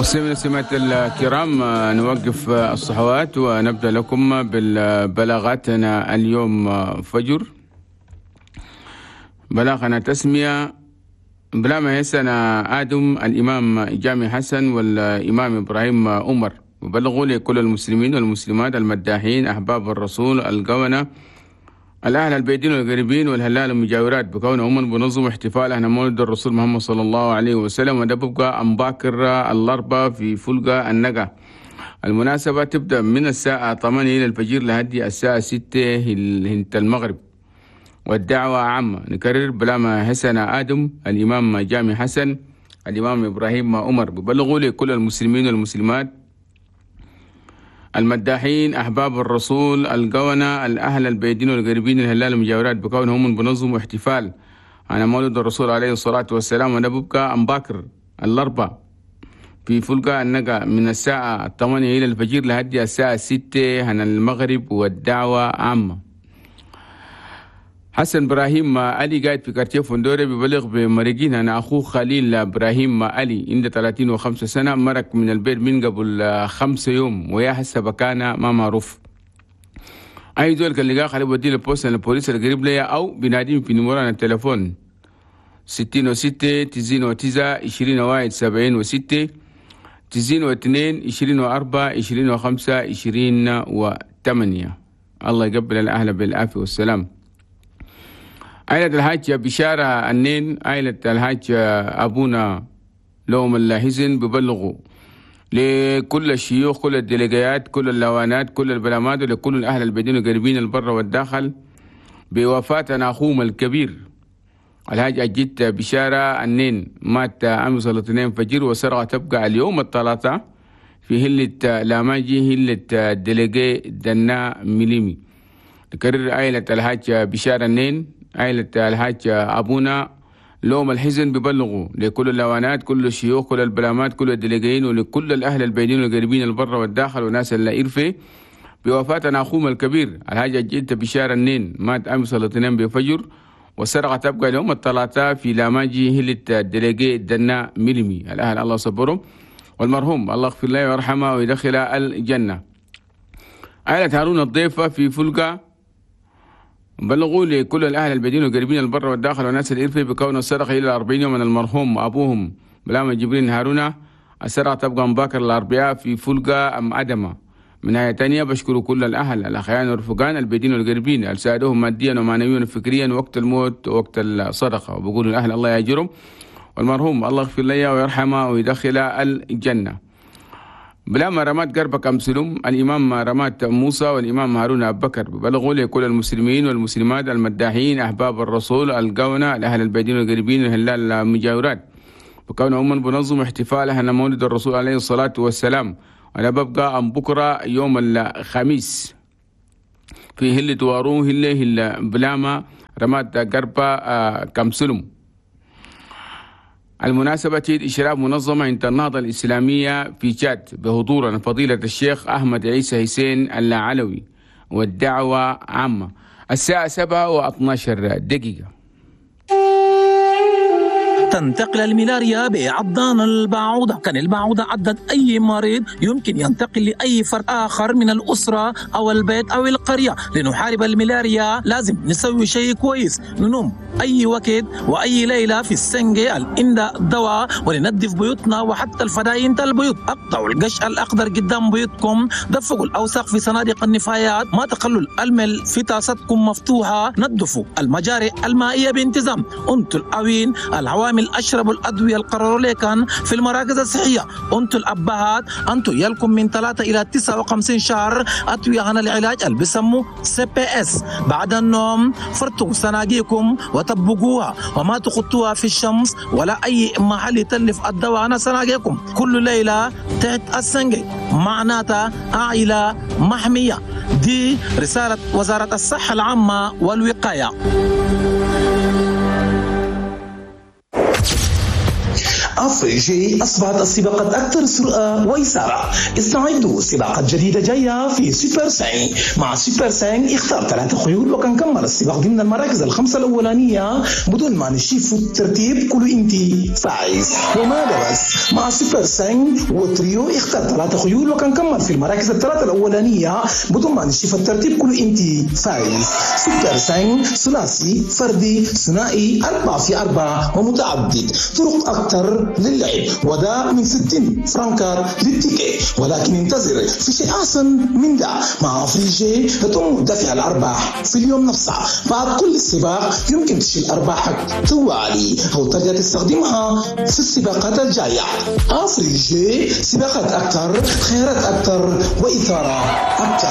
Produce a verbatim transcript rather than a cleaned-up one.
مستمعينا والمستمعات الكرام، نوقف الصحوات ونبدأ لكم بالبلاغاتنا اليوم فجر. بلاغنا تسمية بلا ما يسنا آدم الإمام جامع حسن والإمام إبراهيم عمر، وبلغوا لكل المسلمين والمسلمات المداحين أحباب الرسول القونة الأهل البيدين والقريبين والهلال المجاورات بكونهم بنظم احتفال أهل مولد الرسول محمد صلى الله عليه وسلم، وده ببقى أمباكر الأربعة في فلقة النقا. المناسبة تبدأ من الساعة ثمانية إلى الفجر لهدي الساعة ستة هنت المغرب، والدعوة عامة. نكرر بلاما حسن آدم الإمام جامع حسن الإمام إبراهيم عمر، ببلغوا لكل المسلمين والمسلمات المداحين أحباب الرسول القونة الأهل البيدين والقريبين الهلال المجاورات بكونهم بنظم احتفال على مولد الرسول عليه الصلاة والسلام، ونبقى أمباكر الأربعة في فلقة النقا من الساعة ثمانية إلى الفجر لهدي الساعة ستة عن المغرب، والدعوة عامة. حسن إبراهيم علي قاعد في كارتيه فندوري ببلغ بمرقين أنا أخوه خليل إبراهيم علي عنده ثلاثين وخمسة سنة، مرق من البيت من قبل خمسة يوم ويا هسه بكانة ما معروف. أي زول كان لقاه خليه بدي البوست البوليس القريب ليا أو بناديم في نمرة التليفون ستين وستة تسعين وتسعة عشرين وواحد سبعين وستة تسعين واثنين عشرين وأربعة عشرين وخمسة عشرين وثمانية. الله يقبل الأهل بالعافية والسلام. عائلة الحاج بشارة النين، عائلة الحاج أبونا لهم الحزن ببلغوا لكل الشيوخ كل الديليجيات كل اللوانات كل البلامات ولكل الأهل البدين القريبين البر والداخل بوفاة أخوهم الكبير الحاج أجيت بشارة النين، مات أمس الاثنين فجر وسرعة تبقى اليوم الثلاثاء في هلة لاماجي هلة ديليجي دنا مليمي. نكرر عائلة الحاج بشارة النين، عائلة الحاج أبونا لوم الحزن ببلغوا لكل اللوانات كل الشيوخ كل البلامات كل الدليجين ولكل الأهل البيدين والقريبين البر والداخل وناس اللي إرفي بوفاة أخوهم الكبير الحاج أجيت بشارة النين، مات أمس الاثنين بفجر والسرقة تبقى اليوم الثلاثاء في لاماجي هلة الدليجي دنا ملمي. الأهل الله صبرهم والمرحوم الله يغفر له ويرحمه ويدخله الجنة. عائلة هارون الضيفة في فلقة بلغوا لكل الأهل البدين والقريبين البر والداخل والناس الإرفي بكون السرقة إلى أربعين يوم من المرحوم أبوهم بلام جبرين هارون. السرقة تبقى مباكر الأربعاء في فلقة أم أدمة. من ناحية تانية بشكر كل الأهل الأخيان والرفقان البدين والقريبين اللي ساعدوهم ماديا ومعنويا وفكريا وقت الموت ووقت الصدقة، وبقول الأهل الله يأجرهم والمرحوم الله يغفر له ويرحمه ويدخله الجنة. بلا ما رمات قربك أمسلم الإمام رمات موسى والإمام هارون أبو بكر ببلغوا لكل المسلمين والمسلمات المداحين أحباب الرسول القونة الأهل البيدين والقريبين الهلال المجاورات وكانوا هم بنظم احتفالها مولد الرسول عليه الصلاة والسلام. أنا ببقى أم بكرة يوم الخميس في هلة وارون هلة هلة بلاما رمات قربة كمسلم. المناسبة إشراف منظمة عند النهضة الإسلامية في تشاد بحضور فضيلة الشيخ أحمد عيسى حسين العلوي، والدعوة عامة. الساعة سبعة واثناشر دقيقة. تنتقل الملاريا بعضان البعوضة. كان البعوضة عضت أي مريض يمكن ينتقل لأي فرد آخر من الأسرة أو البيت أو القرية. لنحارب الملاريا لازم نسوي شيء كويس، ننوم أي وقت وأي ليلة في السنجة الإندا الدواء، ولننظف بيوتنا وحتى الفداين البيوت. أقطعوا القش الأخضر قدام بيوتكم، دفقوا الأوساخ في صناديق النفايات، ما تخلوا المل في طاستكم مفتوحة، نظفوا المجاري المائية بانتظام. أنتوا الأوين العوامل أشربوا الأدوية القرروا لكن في المراكز الصحية. أنتوا الأبهات أنتوا يلكم من ثلاثة إلى تسعة وخمسين شهر أدوية عن العلاج اللي بيسموه سي بي إس. بعد النوم فرتوا صناديقكم وطبقوها وما تخطوها في الشمس ولا أي محل يتلف الدواء عن صناديقكم. كل ليلة تحت السنجي معناتها عائلة محمية. دي رسالة وزارة الصحة العامة والوقاية. افريجي اصبحت السباقات اكثر سرعة واثاره. استعدوا، سباقات جديدة جاية في Super cinq. مع Super cinq اختار ثلاثة خيول، وكان كمل السباق ضمن المراكز الخمسة الاولانية بدون ما نشوف الترتيب كله انت فايز. وما ده بس، مع Super cinq و trio اختار ثلاثة خيول، وكان كمل في المراكز الثلاثة الاولانية بدون ما نشوف الترتيب كله انت فايز. Super cinq، ثلاثي، فردي، ثنائي، أربعة في أربعة ومتعدد، طرق أكثر للعب، وده من ستين فرنكات لل ticket. ولكن انتظر، في شيء أحسن من ده. مع افريجي تتم دفع الأرباح في اليوم نفسه بعد كل سباق. يمكن تشيل أرباحك طوالي أو ترجع تستخدمها في السباقات الجاية. افريجي، سباقات أكثر، خيارات أكثر، وإثارة أكثر.